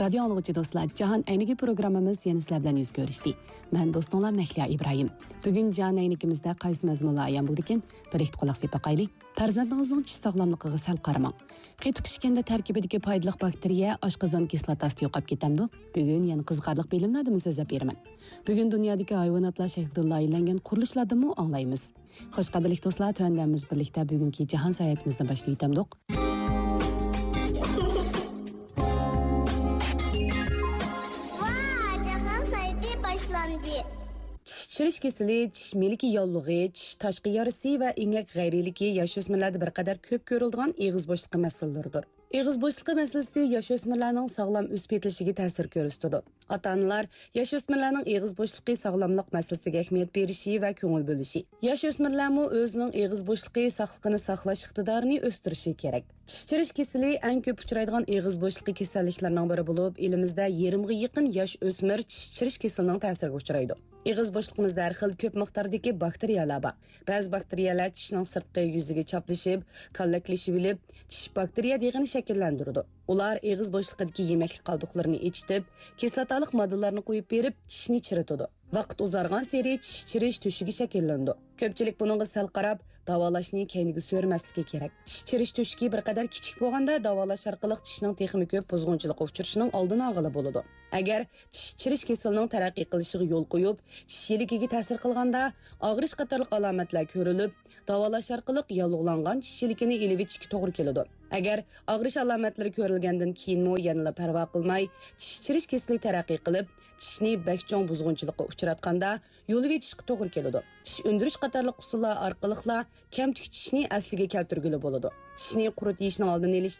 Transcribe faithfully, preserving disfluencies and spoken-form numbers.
رادىيو ئاڭلىغۇچى دوستلار، جاھان ئەينىكى پروگراممىمىز يەنە سىلەر بىلەن يۈز كۆرۈشتى. مەن دوستۇڭلار مەھلىيا ئىبراھىم. بۈگۈن جاھان ئەينىكىمىزدە قايسى مەزمۇنلار ئايان بولىدىكىن؟ بىرلىكتە قۇلاق سېلىپ باقايلى. پەرزەنتىڭىزنىڭ چىش ساغلاملىقىغا سەل قارىماڭ. قېتىق ئىچكەندە تەركىبىدىكى پايدىلىق باكتېرىيە ئاشقازان كىسلاتاسى يوقاپ كېتەمدۇ؟ بۈگۈن يەنە قىزىقارلىق بىلىملەردىن سۆزلەپ بېرىمەن. بۈگۈن دۇنيادىكى ھايۋاناتلار شەكلىدىن لايىھەلەنگەن قۇرۇلۇشلاردىنمۇ ئاڭلايمىز. خوش، قەدىرلىك دوستلار، تۆۋەندە بىز بىرلىكتە بۈگۈنكى جاھان ساياھىتىمىزنى باشلىۋېتەمدۇق. ۋا، جاھان سايىتى باشلاندى. چىش چىرىش كېسىلى، چىش مىلىكى ياللۇغى، چىش تاشقى يارىسى ۋە ئېڭەك غەيرىيلىكى ياشۆسمۈرلەردە بىر قەدەر كۆپ كۆرۈلىدىغان ئېغىز بوشلۇقى مەسىلىلىرىدۇر. ئېغىز بوشلۇقى مەسىلىسى ياشۆسمۈرلەرنىڭ ساغلام ئۆسۈپ يېتىلىشىگە تەسىر كۆرسىتىدۇ. ئاتا-ئانىلار ياشۆسمۈرلەرنىڭ ئېغىز بوشلۇقى ساغلاملىق مەسىلىسىگە ئەھمىيەت بېرىشى ۋە كۆڭۈل بۆلۈشى، ياشۆسمۈرلەرمۇ ئۆزىنىڭ ئېغىز بوشلۇقى ساقلىقىنى ساقلاش ئىقتىدارىنى ئۆستۈرۈشى كېرەك. چىش چىرىش كېسىلى ئەڭ كۆپ ئۇچرايدىغان ئېغىز بوشلۇقى كېسەللىكلىرىنىڭ بىرى بولۇپ، ئېلىمىزدە يېرىمغا يېقىن ياش ئۆسمۈر چىش چىرىش كېسىلىنىڭ تەسىرىگە ئۇچرايدۇ. ئېغىز بوشلۇقىمىزدا ھەر خىل كۆپ مىقداردىكى باكتېرىيەلەر بار. بەزى باكتېرىيەلەر چىشنىڭ سىرتقى يۈزىگە چاپلىشىپ، كاللەكلىشىۋېلىپ، چىش باكتېرىيە دېغىنى شەكىللەندۈرىدۇ. ئۇلار ئېغىز بوشلۇقىدىكى يېمەكلىك قالدۇقلىرىنى ئېچىتىپ، كىسلاتالىق ماددىلارنى قويۇپ بېرىپ، چىشنى چىرىتىدۇ. ۋاقىت ئۇزارغانسېرى چىش چىرىش تۆشۈكى شەكىللىنىدۇ. كۆپچىلىك بۇنىڭغا سەل قاراپ، داۋالاشنى كەينىگە سۆرىمەسلىكى كېرەك. چىش چىرىش تۆشۈكى بىر قەدەر كىچىك بولغاندا، داۋالاش ئارقىلىق چىشنىڭ تېخىمۇ كۆپ بۇزغۇنچىلىققا ئۇچرىشىنىڭ ئالدىنى ئالغىلى بولىدۇ. ئەگەر چىش چىرىش كېسىلىنىڭ تەرەققىي قىلىشىغا يول قويۇپ، چىش يىلىكىگە تەسىر قىلغاندا، ئاغرىش قاتارلىق ئالامەتلەر كۆرۈلۈپ، داۋالاش ئارقىلىق ياللۇغلانغان چىش يىلىكىنى ئېلىۋېتىشكە توغرا كېلىدۇ. ئەگەر ئاغرىش ئالامەتلىرى كۆرۈلگەندىن كېيىنمۇ يەنىلا پەرۋا قىلماي، چىش چىرىش كېسىلى تەرەققىي قىلىپ، چىشنى بەك چوڭ بۇزغۇنچىلىققا ئۇچراتقاندا، يۇلۇۋېتىشقا توغرا كېلىدۇ. چىش ئۈندۈرۈش قاتارلىق ئۇسۇللار ئارقىلىقلا كەمتۈك چىشنى ئەسلىگە كەلتۈرگىلى بولىدۇ. چىشنى قۇرۇت يېيىشنىڭ ئالدىنى ئېلىشتا